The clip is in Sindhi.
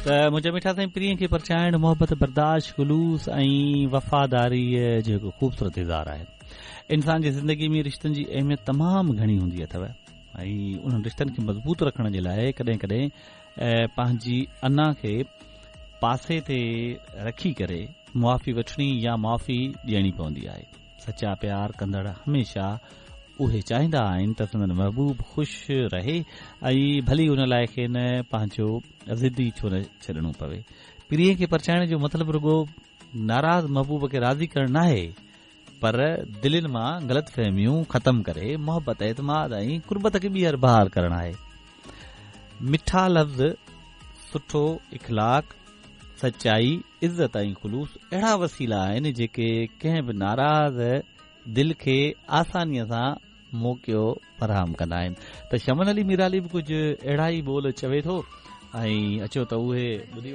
ته منهنجا مٺا سائين پرينء کي پرچائڻ محبت، برداشت، خلوص ۽ وفاداريء جو هڪ خوبصورت اظهار آهي. انسان جي زندگي ۾ رشتن جي اهميت تمام گهڻي هوندي اٿو ۽ انهن رشتن کي مضبوط رکڻ جي لاء ڪڏهن ڪڏهن پنهنجي انا کي پاسي تي رکي ڪري معافي وٺڻي يا معافي ڏيڻي پوندي آهي. سچا پيار ڪندڙ هميشه اهي چاهيندا آهن ته سندن محبوب خوش رهي ۽ ڀلي ان لاء کين پنهنجو ضد ئي ڇو نه ڇڏڻو پوي. پرينء کي پرچائڻ جو مطلب رڳو ناراض محبوب کي راضي ڪرڻ ناهي پر دلين مان غلط فهميون ختم ڪري محبت، اعتماد ۽ قربت کي ٻيهر بحال ڪرڻ آهي. مٺا لفظ، سٺو اخلاق، سچائي، عزت ۽ خلوص اهڙا وسيلا آهن جيڪي ڪنهن به ناراض دل کي آسانيء سان موقعو فراهم ڪندا آهن ته شمن علي ميرالي به ڪجهه اهڙا ئي ٻول چوي ٿو ۽ اچو ته اهي ٻڌي.